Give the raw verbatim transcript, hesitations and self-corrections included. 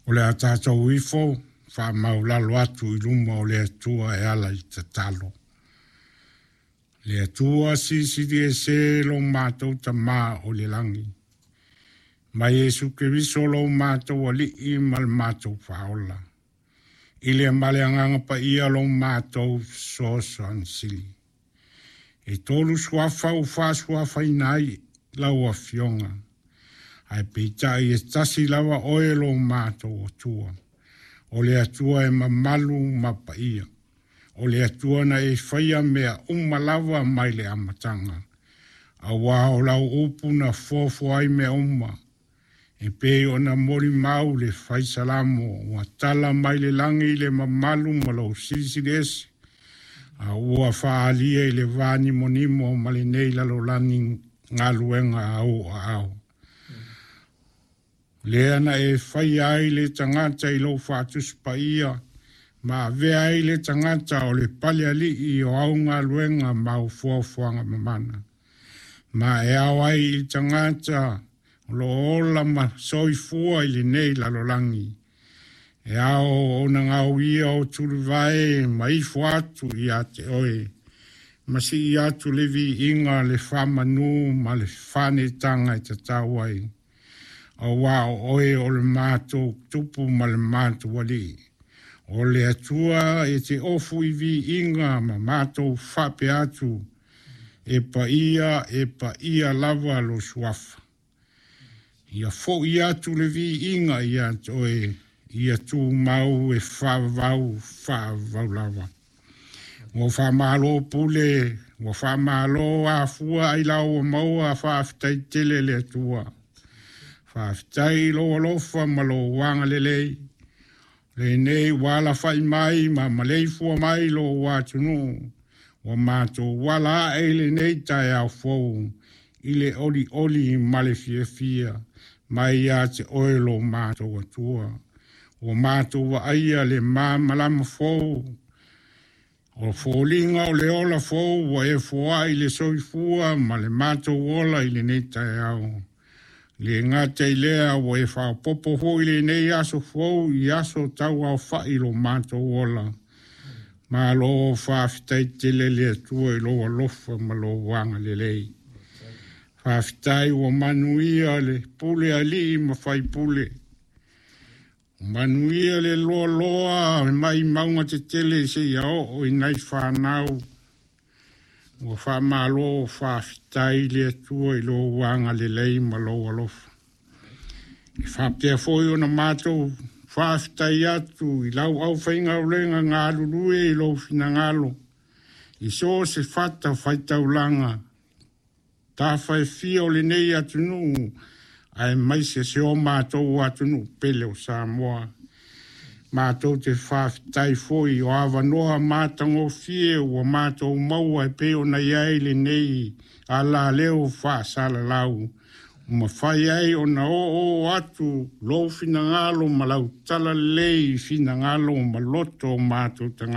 O le a tatou ifo faamaulalo atu i luma o le Atua e ala i tatalo. Le Atua silisili ese lo matou Tamā o le lagi. Mai Iesu Keriso lo matou Alii ma le matou Faaola. I le ma le Agaga Paia lo matou Fesoasoani Sili. E tolu suafa ua faasuafaina ai lau Afioga. Ae peitai e tasi lava oe lo matou Atua. O le Atua e mamalu ma paia. O le Atua na e faia mea uma lava mai le amataga. Auā o lau upu na foafoa ai mea uma. E pei ona molimau le fai salamo ua tala mai le lagi le mamalu ma lou silisili ese. A ua faaalia i le vanimonimo ma lenei lalolagi galuega a ou aao. Lea na e faia ai le tagata i lou faatusi paia ma avea ai le tagata o le palealii o au galuega ma au foafoaga mamana. Ma e ao ai i le tagata o lo o ola ma soifua i lenei lalolagi. E ao ona gauia o tulivae ma ifo atu ia te oe. Ma sii atu le viiga le faamanu ma le faanetaga e tatau ai. Auā o oe o le matou Tupu ma le matou Alii. O le Atua e te ofu i viiga ma matou faapea atu. E paia, e paia lava lo suafa. Ia fo'i atu le viiga ia te oe, ia tumau e faavavau, faavavau lava. Ua faamalo pule, ua faamalo afua ailao ua maua faafetai tele le Atua. Faafetai i lou alofa ma lou agalelei. Lenei ua alafai mai ma maleifua mai lou atunuu. Ua matou ala ae i lenei taeao fou i le olioli ma le fiafia mai ia te oe lo matou Atua. Ua matou vaaia le malamalama fou. O foliga o le ola fou ua e foai le soifua ma le matou ola i lenei taeao. Le gata i lea ua e faaopoopo foi lenei aso fou i aso tauaofa'i lo matou ola. Malo faafetai tele le Atua i lou alofa ma lou agalelei. Faafetai ua manuia le pule alii ma faipule. Manuia le loaloa mai mauga tetele seia oo i nai fanau. Ua faamalo faafetai le Atua i lou agalelei ma lou alofa. E faapea foi ona matou faafetai atu i lau aufaigaluega galulue i lou finagalo i so o se fatafaitaulaga tafa e fia o lenei atunuu aemaise si o matou atunuu pele o Samoa. Matou te faafetai foi o avanoa matagofie ua matou maua e pei ona i ai lenei alaleo faasalalau. Ua mafai ai ona oo atu lou finagalo ma lau talalelei i finagalo ma loto o matou tagata.